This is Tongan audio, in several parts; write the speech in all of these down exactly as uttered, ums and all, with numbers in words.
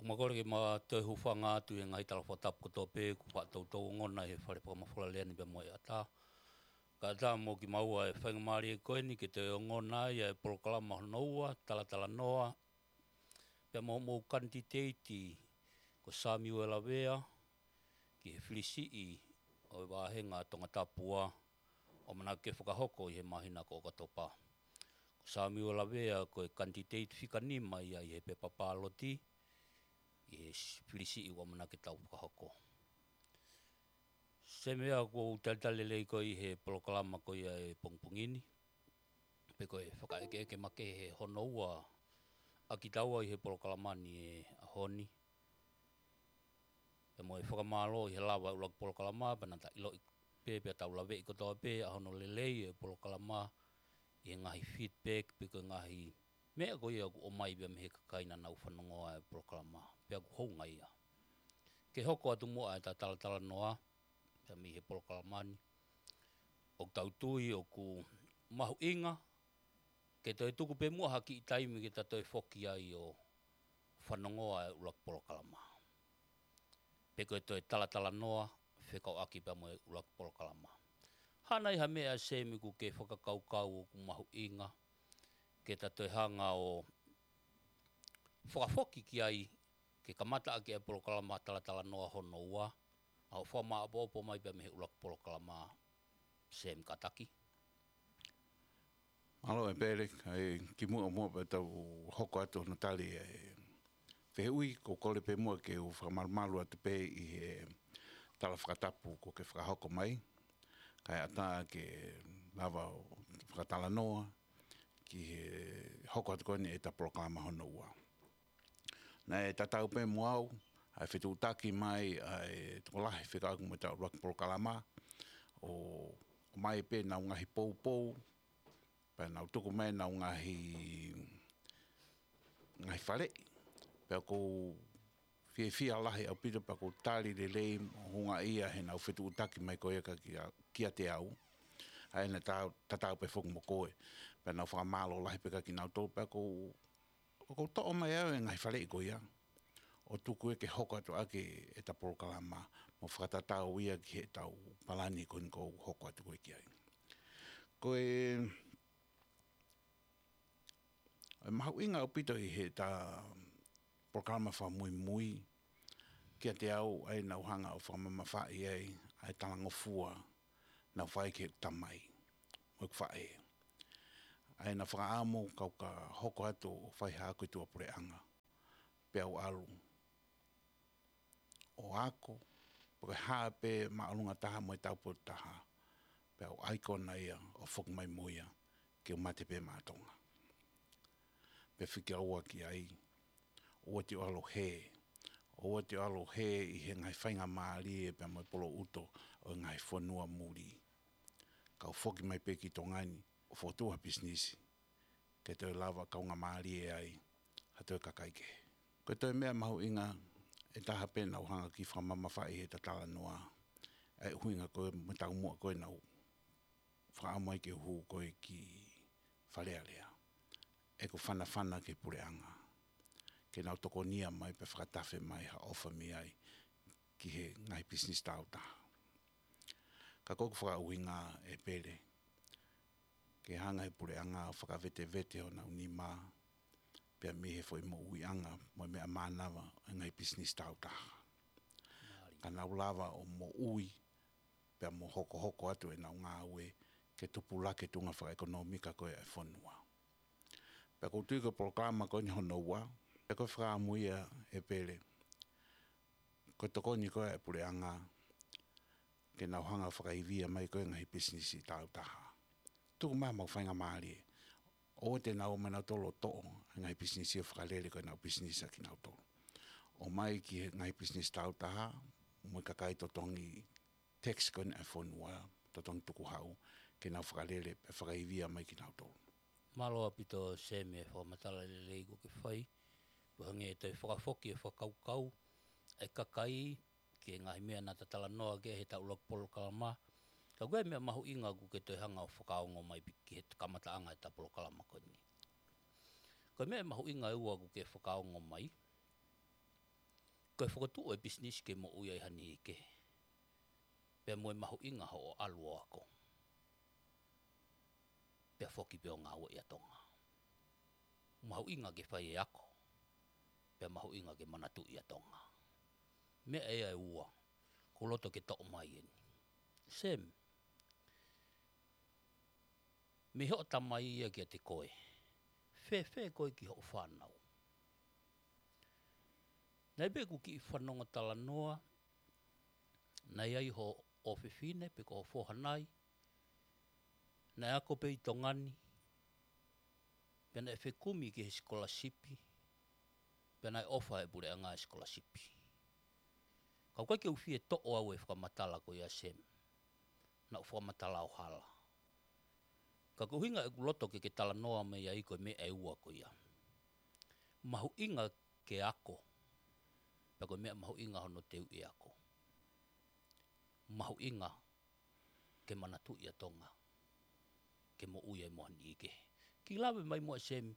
Ma kole ke ma toe hūfanga atu he ngaahi tala fakatapu kotoa pē kuo faʻa toutou ongona he fale fakamafola lea ni pea mo e ʻatā. Kae ʻatā mo kimaua e faingamālie ko eni ke toe ongona ai e polokalama hono ua, Talatalanoa, pea mo hoʻomou kanititeiti ko Samiuela Vea, ki he fili siʻi ʻo e vāhenga Tongatapu ua, ʻoku ʻamanaki ke fakahoko ʻi he māhina ko ʻOkatopa. Ko Samiuela Vea ko e kanititeiti fika nima ia ʻi he pepa pāloti, ʻi he s-, fili siʻi ʻoku ʻamanaki ke tau fakahoko. Sēmea, ʻoku ou talitali lelei koe ʻi he polokalama ko ia e pongipongi ni. Pea ko e fakaʻekeʻeke makehe hono ua ʻa kitaua ʻi he polokalama ni he ʻaho ni. Pea mo e fakamālō ʻi he lava e ʻuluaki polokalama, pea naʻa ta ʻiloʻi pē, pea tau laveʻi kotoa pē ʻa hono lelei e polokalama ʻi he ngaahi feedback pe ko e ngaahi meʻa ko ia ʻoku ʻomai pea mei he kakai naʻa nau fanongoa e polokalama. Pea ʻoku hounga ia. Ke hoko atu muʻa ʻeta talatalanoa pea mei he polokalama ni. ʻOku tau tui ʻoku mahuʻinga ke toe tuku pē muʻa ha kiʻi taimi ke ta toe foki ai ʻo fanongoa e ʻuluaki polokalama. Pe ko e toe talatalanoa fekauʻaki pea mo e ʻuluaki polokalama. Hā nai ha meʻa, Semi, ʻoku ke fakakaukau ʻoku mahuʻinga ke ta toe hanga ʻo fakafoki ki ai, ke kamata ʻaki e polokalama Talatalanoa hono ua, ʻa hoʻo fakamāʻopoʻopo mai pea mei he ʻuluaki polokalama, Semi Kataki? Mālō ʻe Pele, kae kimuʻa muʻa pea tau hoko atu hono tali e fehuʻi, ʻoku ou kole pē muʻa ke u fakamalumalu atu pē ʻi he tala fakatapu kuo ke fakahoko mai, kae ʻatā ke lava ʻo fakatalanoa ki he hoko atu ko eni ʻeta polokalama hono ua. Naʻe tatau pē mo au ʻa e fetuʻutaki mai ʻa e tokolahi fekauʻaki mo ʻeta ʻuluaki polokalama, ʻo, ʻomai pē ʻenau ngaahi poupou, pea nau tuku mai ʻenau ngaahi, ngaahi faleʻi. Pea ʻoku ou fiefia lahi ʻaupito pea ʻoku ou tali lelei mo houngaʻia heʻenau fetuʻutaki mai ko ia kia, kiate au. ʻA ia naʻe ta-, tatau pē foki mo koe. Pea nau fakamālō lahi pē kia kinautolu, pea ʻoku ou ʻoku ou toʻo mai au e ngaahi faleʻi ko ia ʻo tuku ia ke hoko atu ʻaki ʻeta polokalama, mo fakatatau ia ki heʻetau palani ko eni ʻoku ou hoko atu ko ē ki ai. Ko e, e mahuʻinga ʻaupito ʻi heʻeta polokalama fakamuimui kiate au, ʻa ia naʻa ku hanga ʻo fakamamafaʻi ai ʻa e talangofua naʻe fai ki heʻeku tamai mo ʻeku faʻē. ʻA ia naʻa ku fakaʻamu ke u ka hoko atu ʻo fai haʻaku tuʻa puleʻanga, pea u ʻalu ʻo ako, pe ko e hā pē māʻolunga taha mo e taupotu taha, pea u ʻai kona ia ʻo foki mai mo ia, ke u mate pē maʻa Tonga. Pea fika ua ki ai, ʻoua te u ʻalu ʻo hē, ʻoua te u ʻalu ʻo hē ʻi he ngaahi faingamālie pea mo e poloʻuto ʻo e ngaahi fonua muli. Ka u foki mai pē ki Tonga ni ʻo fokotuʻu ha pisinisi, ke toe lava kaungāmālie ai ha toe kakai kehe. Ko e toe meʻa mahuʻinga ʻe taha pē naʻa ku hanga ʻo kiʻi fakamamafaʻi heʻeta talanoa, ʻa e ʻuhinga ko ē mo e taumuʻa ko ē naʻa ku fakaʻamu ai ke u hū ko ē ki Fale Alea, ʻeku fanafana ki he puleʻanga ke nau tokonia mai pea fakatafe mai ha ʻofa mei ai ki he ngaahi pisinisi tāutaha. Ka ko ʻeku fakaʻuhinga, ʻe Pele, ke hanga ʻe he puleʻanga ʻo fakavetevete honau nima pea mei he foʻi moʻuiʻanga mo e meʻa mānava ʻo e ngaahi pisinisi tāutaha, ka nau lava ʻo moʻui pea mo hokohoko atu ʻenau ngāue ke tupulaki e tuʻunga fakaʻekonōmika ko ē ʻa e fonua. Pea ʻoku ou tui ko e polokalama ko eni hono ua, pea ko e fakaʻamu ia, ʻe Pele, ko e tokoni ko ē ʻa e puleʻanga ke nau hanga ʻo fakaivia mai ko ē ngaahi pisinisi tāutaha. Tuku mai haʻamau faingamālie, ʻoua te nau ō mai nautolu ʻo toʻo e ngaahi pisinisi ʻo fakalele ko ē ʻenau pisinisi ʻa kinautolu. ʻOmai ki he ngaahi pisinisi tāutaha mo e kakai totongi tax ko eni ʻa e fonua, totongi tukuhau, ke nau fakalele pea fakaivia mai kinautolu. Mālō ʻaupito, Semi, e fakamatala lelei ʻoku ke fai. Pea hangē ʻe toe fakafoki e fakakaukau ʻa e kakai ki he ngaahi meʻa naʻa ta talanoa ki ai heʻeta ʻuluaki polokalama. Ka ko e meʻa mahuʻinga ʻoku ke toe hanga ʻo fakaongo mai pē ki he kamataʻanga ʻeta polokalama ko eni. Ko e meʻa mahuʻinga ʻe ua ʻoku ke fakaongo mai, Ko e fokotuʻu e pisinisi ke moʻui ai ha niʻihi kehe, pea mo e mahuʻinga hoʻo ʻalu ʻo ako, pea foki pē ʻo ngāueʻi ʻa Tonga. Mahuʻinga ke fai e ako, pea mahuʻinga ke manatuʻi ʻa Tonga. Meʻa ia ʻe ua ʻoku ou loto ke toʻo mai eni. Sem, mei hoʻo tamai ia kiate koe, fēfē koe ki hoʻo fānau? Naʻe pē ʻeku kiʻi fanongo talanoa, naʻe ʻi ai hoʻo ʻofefine pe ko hoʻo foha nai, naʻe ako pē ʻi Tonga ni, pea naʻe fekumi ki he sikolasipi, pea naʻe ʻofa ʻe he puleʻanga e sikolasipi. Ka ʻoku ʻikai ke u fie toʻo au e fakamatala ko ia, Sem, naʻa ku fakamatala ʻo hala. Ka ko e ʻuhinga ʻeku loto ke ke talanoa mai ai ko e meʻa ʻe ua ko ia. Mahuʻinga ke ako, pea ko e meʻa mahuʻinga hono teuʻi e ako. Mahuʻinga ke manatuʻi ʻa Tonga, ke moʻui ai mo ha niʻihi kehe. Kiʻi lave mai muʻa, Sem,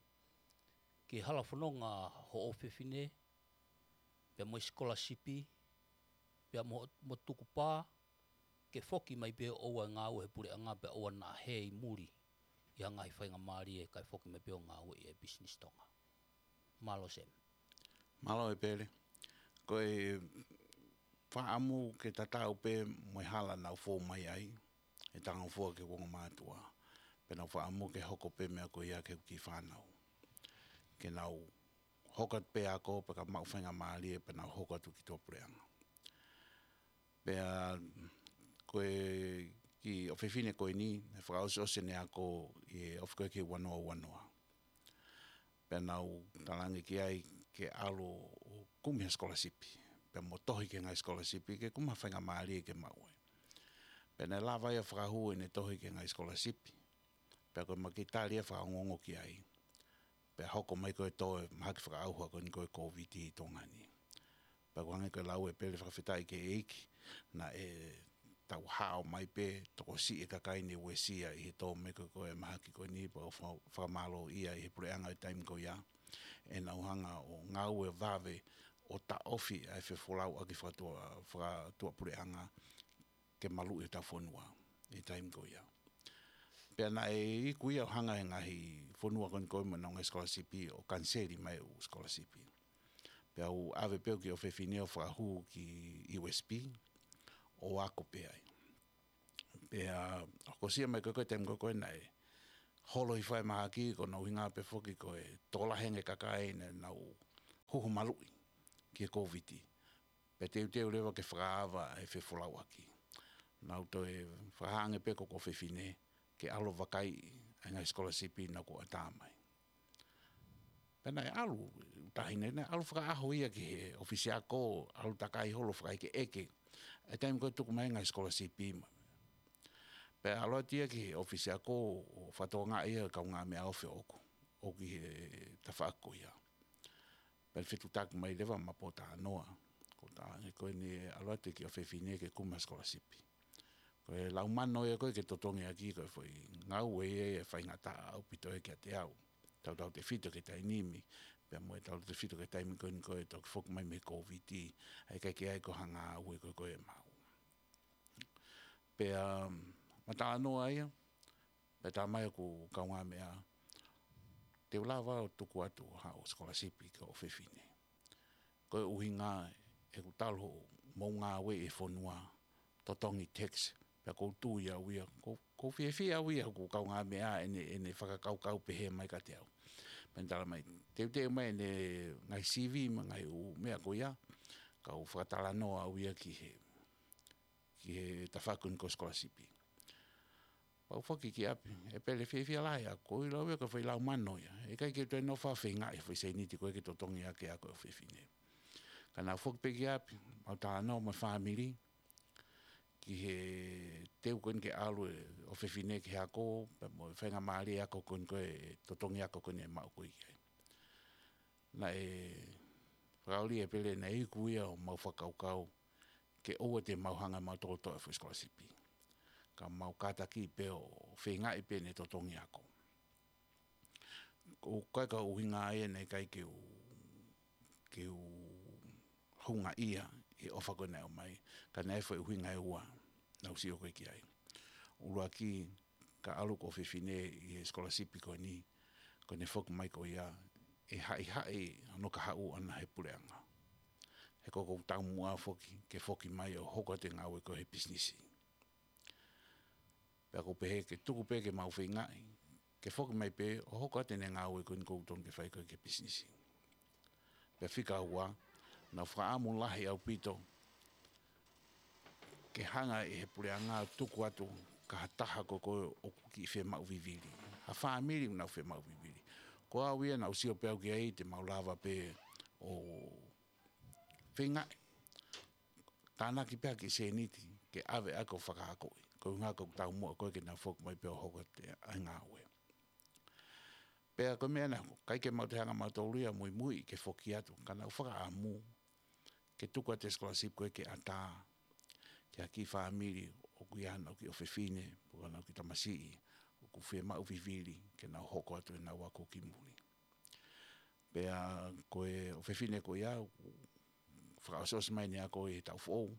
ki he hala fononga hoʻo ʻofefine, pea mo e sikolasipi, pea mo, mo tukupā, ke foki mai pē ʻo ʻoua ʻe ngāue he puleʻanga pea ʻoua naʻa hē ʻi muli ʻi ha ngaahi faingamālie kae foki mai pē ʻo ngāueʻi e pisinisi Tonga. Mālō, Sem. Mālō, ʻEpele. Ko e fakaʻamu ke tatau pē mo e hala naʻa ku fou mai ai, ʻi Tangofua ki he ongo mātuʻa. Pea naʻa ku fakaʻamu ke hoko pē meʻa ko ia ki heʻeku kiʻi fānau. Ke nau hoko atu pē ako, pea ka maʻu faingamālie, pea nau hoko atu ki tuʻapuleʻanga. Pea ko e kiʻi ʻofefine ko eni, naʻe fakaʻosiʻosi ʻene ako ʻi he ofi ko ē ki he ua noa ua noa. Pea naʻa ku talaange ki ai ke ʻalu ʻo kumi ha sikolasipi. Pea mo tohi ki he ngaahi sikolasipi, ke kumi ha faingamālie ke maʻu ai. Pea naʻe lava ia ʻo fakahū ʻene tohi ki he ngaahi sikolasipi. Pea ko e makitali ia fakaongoongo ki ai. Pea hoko mai ko e tō e mahaki fakaʻauha ko eni ko e Kōviti ʻi Tonga ni. Pea ʻoku hangē ko e lau, ʻEpele, fakafetaʻi ki he ʻEiki, naʻe tau hao mai pē, tokosiʻi e kakai naʻe uesia ʻi he tō mai ko ē ko e mahaki ko eni, pea ʻoku fa-, fakamālōʻia ʻi he puleʻanga ʻi he taimi ko ia. ʻEna ʻuhinga ʻo ngāue vave ʻo taʻofi ʻa e fefolauʻaki fakatua-, fakatuʻapuleʻanga ke maluʻi hotau fonua ʻi he taimi ko ia. Pea naʻe iku ia ʻo hanga ʻe he ngaahi fonua ko eni ko ē mo ʻenau ngaahi sikolasipi ʻo kaniseli mai ʻeku sikolasipi. Pea u ʻave pē ʻeku kiʻi ʻofefine ʻo fakahū ki U S P ʻo ako pē ai. Pea hokosia mai ko ē ko e taimi ko ē ko ē naʻe holo hifo e mahaki, ko hono ʻuhinga pē foki ko e tokolahi ange e kakai naʻa nau huhu maluʻi ki he Kōviti. Pea teuteu leva ke fakaava e fefolauʻaki. Naʻa ku toe fakahā ange pē ko ʻeku ʻofefine ke ʻalu ʻo vakaiʻi ʻa e ngaahi sikolasipi naʻa ku ʻatā mai. Pea naʻe ʻalu, taʻahine naʻe ʻalu fakaʻaho ia ki he ʻofisi ako, ʻalu takai holo fakaʻekeʻeke ʻa e taimi ko ē tuku mai e ngaahi sikolasipi ma. Pea ʻalu atu ia ki he ʻofisi ako ʻo fakatokangaʻi ʻa e kaungāmeʻa ofi ʻoʻoku, ʻoku ʻi he tafaʻaki ko ia. Pea fetuʻutaki mai leva maʻa Potanoa, ko e taʻahine ko eni ʻalu atu e kiʻi ʻofefine ke kumi ha sikolasipi. Ko e laumano ia ko ē ke totongi ʻaki, ko e foʻi ngāue ia ʻe faingataʻa ʻaupito ia kiate au. Tautautefito ki he taimi ni, pea mo e tautautefito ki he taimi ko eni ko e toki foki mai mei he Kōviti, ʻa ia ʻikai ke ʻi ai ko ha ngāue ko ē ko ē ʻe maʻu. Pea, um, ma talanoa ia, pea talamai ʻe hoku kaungāmeʻa, te u lava ʻo tuku atu haʻo sikolasipi ki hoʻo ʻofefine. Ko e ʻuhinga ʻeku talu hoʻomou ngāue ʻi he fonua, totongi tax, pea ʻoku ou tui au ia, ʻoku, ʻoku ou fiefia au ia, hoku kaungāmeʻa ʻene, ʻene fakakaukau pehē mai kiate au. Pea ne talamai, teuteu mai ʻene ngaahi C V mo e ngaahi ʻū meʻa ko ia, kau fakatalanoa au ia ki he ki he tafaʻaki ko eni ko e sikolasipi. Pea u foki ki ʻapi, ʻEpele, fiefia lahi au, ko e lau ia ko e foʻi laumano ia. ʻE ʻikai ke u toe nofo ʻo feingaʻi e foʻi sēniti ko ē ke totongi ʻaki e ako ʻo e ʻofefine. Ka naʻa ku foki pē ki ʻapi, mau talanoa mo e fāmili, ki he teu ko eni ke ʻalu e ʻofefine ki he ako, pea mo e faingamālie ako ko eni ko e totongi ako ko eni ʻe maʻu ko ē ki ai. Naʻe fakaʻuli, ʻEpele, naʻe iku ia homau fakakaukau, ke ʻoua te mau hanga ʻe mautolu ʻo toʻo e foʻi sikolasipi. Ka mau kātaki pē ʻo feingaʻi pē ʻene totongi ako. ʻOku ʻikai ko e ʻuhinga ia naʻe ʻikai ke u, ke u hunga ia ʻi he ʻofa ko ē naʻe ʻomai, ka naʻe ʻi ai e foʻi ʻuhinga ʻe ua naʻa ku sio ko ē ki ai. ʻUluaki, ka ʻalu ko ʻofefine ʻi he scholarship ko eni, ko ʻene foki mai ko ia, ʻe haʻihaʻi hono kahaʻu ʻana he puleʻanga. He ko ʻeku taumuʻa foki ke foki mai ʻo hoko atu e ngāue ko ē he pisinisi. Pea ʻoku ou pehē ke tuku pē ke mau feingaʻi ke foki mai pē ʻo hoko atu ʻene ngāue ko eni ʻoku totonu ke fai ko ē ki he pisinisi. Pea fika ua, naʻa ku fakaʻamu lahi ʻaupito ke hanga ʻe he puleʻanga ʻo tuku atu ki ha taha ko ē ʻoku kiʻi fiemaʻu vivili, ha fāmili ʻoku nau fiemaʻu vivili. Ko au ia naʻa ku sio pē au ki ai te mau lava pē ʻo feingaʻi tānaki pē ha kiʻi sēniti ke ʻave ʻaki ʻo fakaakoʻi. Ko e ʻuhinga ko ʻeku taumuʻa ko ē ke nau foki mai pē ʻo hoko atu e ngāue. Pea ko e meʻa naʻe hoko, ʻikai ke mau toe hanga mautolu ia ʻo muimui ke foki atu, ka naʻa ku fakaʻamu ke tuku atu e scholarship ko ē ke ʻatā ki ha kiʻi fāmili ʻoku ʻi ai haʻanau kiʻi ʻofefine, pe ko haʻanau kiʻi tamasiʻi ʻoku fiemaʻu vivili ke nau hoko atu ʻenau ako ki muli. Pea ko e ʻofefine ko ia, ʻoku fakaʻosiʻosi mai ʻene ako ʻi he taʻu foʻou.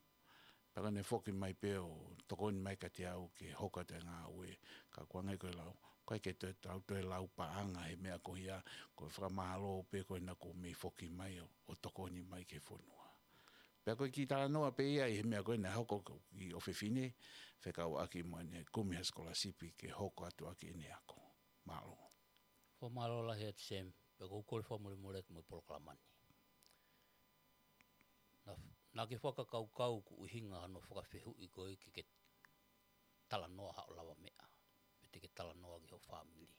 Pea ko ʻene foki mai pē ʻo tokoni mai kiate au ke hoko atu e ngāue, ka ʻoku ʻange ko e lau, ʻikai ke toe tau toe lau paʻanga he meʻa ko ia, ko e fakamālō pē ko ē naʻa ku mei foki mai ʻo, ʻo tokoni mai ki he fonua. Pea ko e kiʻi talanoa pē ia ʻi he meʻa ko ē naʻe hoko ki he ʻofefine, fekauʻaki mo ʻene kumi ha scholarship ke hoko atu ʻaki ʻene ako. Mālō. Fakamālō lahi atu Sam, pea ʻoku ou kole fakamolemole atu mo e polokalama ni. Naʻa, naʻa ke fakakaukau ʻoku ʻuhinga hano fakafehuʻi ko ē ke ke talanoa haʻo lavameʻa, pe te ke talanoa ki ho fāmili.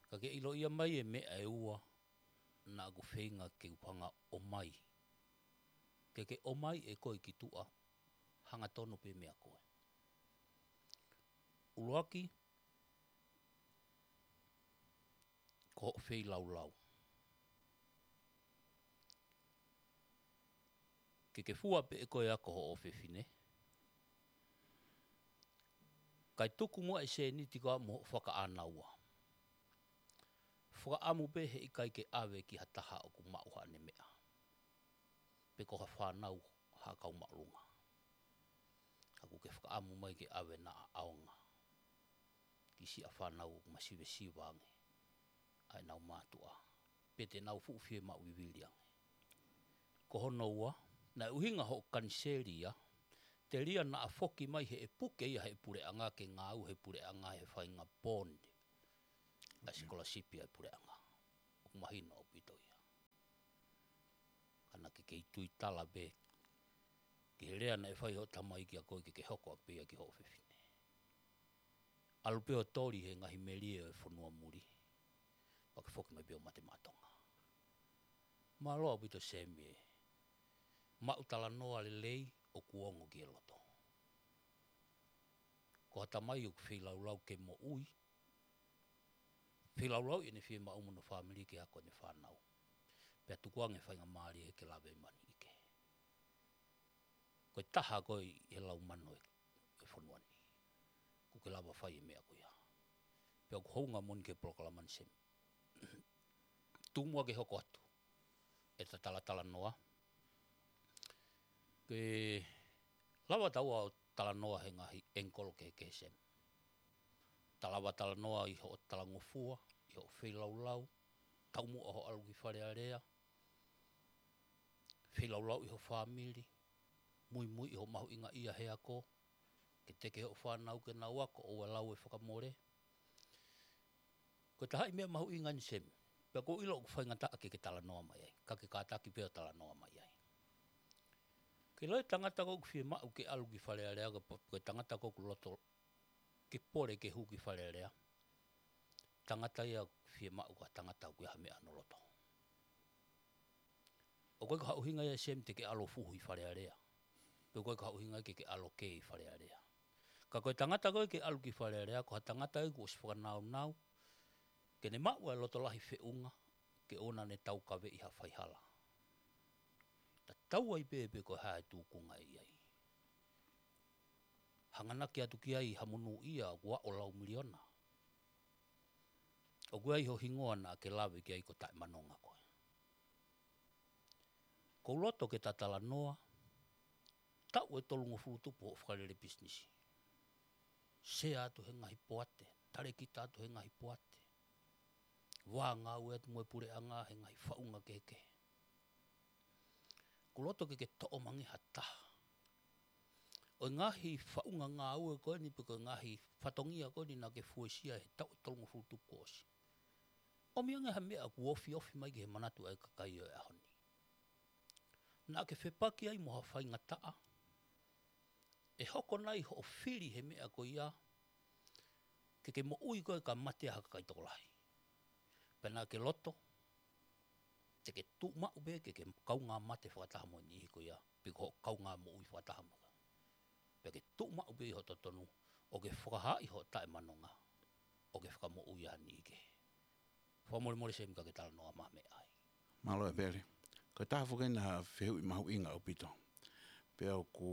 Ka ke ʻiloʻi mai e meʻa ʻe ua naʻa ku feinga ke u hanga ʻo ʻomai. Ke ke ʻomai ʻe koe ki tuʻa, hangatonu pē meʻa ko ē. ʻUluaki, ko hoʻo feilaulau. Ke ke fua pē ʻe koe ʻa hoʻo ʻofefine. Kae tuku muʻa e sēniti ko ia mo hoʻo fakaʻānaua. Fakaʻamu pē heʻikai ke ʻave ki ha taha ʻoku maʻu haʻane meʻa. Pe ko ha fānau ha kau māʻolunga. Ka ʻoku ke fakaʻamu mai ke ʻave naʻa ʻaonga ki siʻa fānau ʻoku masivesiva ange ʻa ʻenau mātuʻa, pe te nau fuʻu fiemaʻu vivili ange. Ko hono ua, naʻe ʻuhinga hoʻo kaniseli ia, telia naʻa foki mai he ʻe puke ia he puleʻanga ke ngāue he puleʻanga he faʻahinga bond. Ka sikolasipi ʻa e puleʻanga. ʻOku mahino ʻaupito ia. Ka naʻa ke kei tuitala pē ki he lea naʻe fai hoʻo tamai kiate koe ke ke hoko ʻaki pē ia ki hoʻo ʻofefine. ʻAlu pē ʻo toli he ngaahi melie ʻo e fonua muli. Pea ke foki mai pē ʻo mate maʻa Tonga. Mālō ʻaupito Semi e maʻu talanoa lelei ʻoku ongo ki he loto. Ko ha tamai ʻoku feilaulau ke moʻui, feilaulau ʻi heʻene fiemaʻu mo hono fāmili ke ako ʻene fānau. Pea tukuange faingamālie ke lave mani ʻi ke. Ko e taha koe ʻi he lau mano ʻo e fonua ni. ʻOku ke lava fai e meʻa ko ia. Pea ʻoku hounga moʻoni ki he polokalama ni Semi. Tuku muʻa ke hoko atu ʻeta talatalanoa. Ke lava taua ʻo talanoa he ngaahi angle kehekehe Semi. Ta lava talanoa ʻi hoʻo talangofua, ʻi hoʻo feilaulau, taumuʻa hoʻo ʻalu ki Fale Alea, feilaulau ʻi ho fāmili, muimui ʻi hoʻo mahuʻingaʻia he ako, ke teke hoʻo fānau ke nau ako, ʻoua ʻe lau e fakamole. Ko e taha e meʻa mahuʻinga eni Semi. Pea ʻoku ou ʻilo ʻoku faingataʻa ke ke talanoa mai ai. Ka ke kātaki pē ʻo talanoa mai ai. Ke ʻilo e tangata ko ē ʻoku fiemaʻu ke ʻalu ki Fale Alea ko e pa-, ko e tangata ko ē ʻoku loto ke pole ke hū ki Fale Alea. Tangata ia ʻoku fiemaʻu ko ha tangata ʻoku ʻi ai ha meʻa ʻi hono loto. ʻOku ʻikai ko ha ʻuhinga ia Semi te ke ʻalu ʻo fuhu ʻi Fale Alea. Pe ʻoku ʻikai ko ha ʻuhinga ke ke ʻalu ʻo kē ʻi Fale Alea. Ka ko e tangata ko ē ke ʻalu ki Fale Alea, ko ha tangata ia kuo ʻosi fakanaunau, ke ne maʻu ʻa e loto lahi feʻunga, ke ʻoua naʻa ne taukaveʻi ha faihala. Tatau ai pē pe ko e hā e tūkunga ʻe ʻi ai. Hanganaki atu ki ai ha monūʻia ʻoku aʻu lau miliona. ʻOku ʻi ai ho hingoa naʻa ke lave ki ai ko taʻemanonga koe. Kou loto ke ta talanoa, taʻu ʻe tolungofulu tupu hoʻo fakalele pisinisi. Sea atu he ngaahi poate, talēkita atu he ngaahi poate. Vā ngāue atu mo e puleʻanga he ngaahi faʻunga kehekehe. Kou loto ke ke toʻo mai ha taha ʻo e ngaahi faʻunga ngāue ko eni pe ko e ngaahi fatongia ko eni naʻa ke fuesia he taʻu ʻe tolungofulu tupu kuo ʻosi. ʻOmi ange ha meʻa ʻoku ofiofi mai ki he manatu ʻa e kakai ʻo e ʻaho ni. Naʻa ke fepaki ai mo ha faingataʻa, ʻe hoko nai hoʻo fili he meʻa ko ia, ke ke moʻui koe ka mate ʻa ha kakai tokolahi. Pea naʻa ke loto, te ke tuʻu maʻu pē ke ke kaungā mate fakataha mo e niʻihi ko ia, pe ko hoʻo kaungā moʻui fakataha mo ia. Pea ke tuʻu maʻu pē ʻi ho totonu, ʻo ke fakahaaʻi hoʻo taʻemanonga, ʻo ke fakamoʻui ʻa e niʻihi kehe. Fakamolemole Semi ka ke talanoa mai ha meʻa ai. Mālō ʻEpeli. Ko e taha foki ena ha fehuʻi mahuʻinga ʻaupito. Pea ʻoku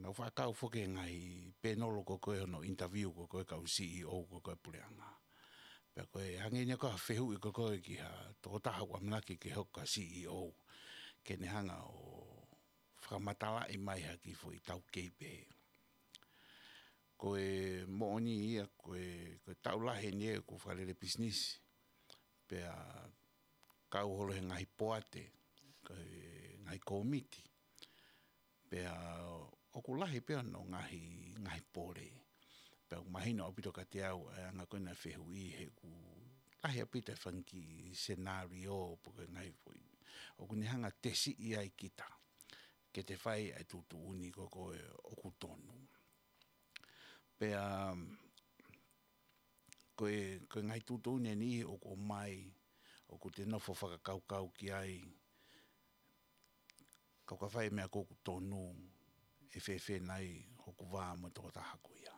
nau fakakau foki he ngaahi pēnolo ko ē hono interview ko ē kau C E O ko ē puleʻanga. Pea ko e hangē ni ko ha fehuʻi ko ē ki ha tokotaha ʻoku ʻamanaki ke hoko ko ha C E O. Ke ne hanga ʻo fakamatalaʻi mai ha kiʻi foʻi taukei pē. Ko e moʻoni ia, ko e, ko e taʻu lahi eni ʻeku fakalele pisinisi. Pea kau holo he ngaahi poate, ko e ngaahi kōmiti. Pea ʻoku lahi pē hono ngaahi, ngaahi pole. Pea ʻoku mahino ʻaupito kiate au, ʻa e anga ko ena fehuʻi he ʻoku lahi ʻaupito e fanga kiʻi scenario pe ko e ngaahi foʻi. ʻOku ne hanga tesiʻi ai kita. Ke te fai ʻa e tuʻutuʻuni ko ē ʻoku tonu. Pea, ko e, ko e ngaahi tuʻutuʻuni eni ʻoku ʻomai, ʻoku te nofo fakakaukau ki ai, kau ka fai meʻa ko ē ʻoku tonu, ʻe fēfē nai hoku vā mo e tokotaha ko ia.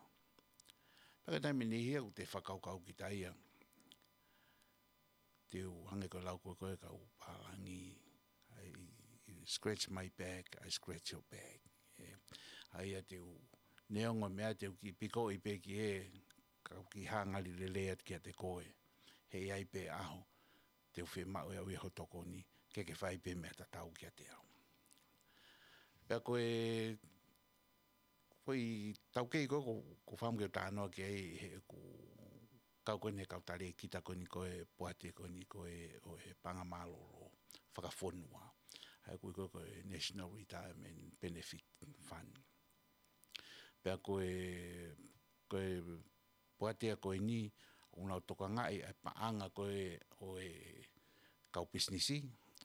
Pea ka taimi ni ia ʻoku te fakakaukau kita ia, te u hangē ko e lau ko ē kau pālangi, I, I scratch my back, I scratch your back. ʻE, ʻa ia te u neongo meʻa te u kiʻi pikoʻi pē ki he, kau kiʻi hā ngali lelei atu kiate koe. He ʻe ʻi ai pē ʻaho, te u fiemaʻu ʻe au ia ho tokoni, ke ke fai pē meʻa tatau kiate au. Pea ko e, foʻi taukei ko ē ʻoku, ʻoku ou fakaʻamu ke u talanoa ki ai he ʻoku kau ko eni he kau talēkita ko eni ko ē poate ko eni ko ē ʻo e paʻanga mālōlō fakafonua. ʻA ia ʻoku ui ko ē ko e National Retirement Benefit Fund. Pea ko e, ko e poate ko eni, ʻoku nau tokangaʻi ʻa e paʻanga ko ē ʻo e kau pisinisi,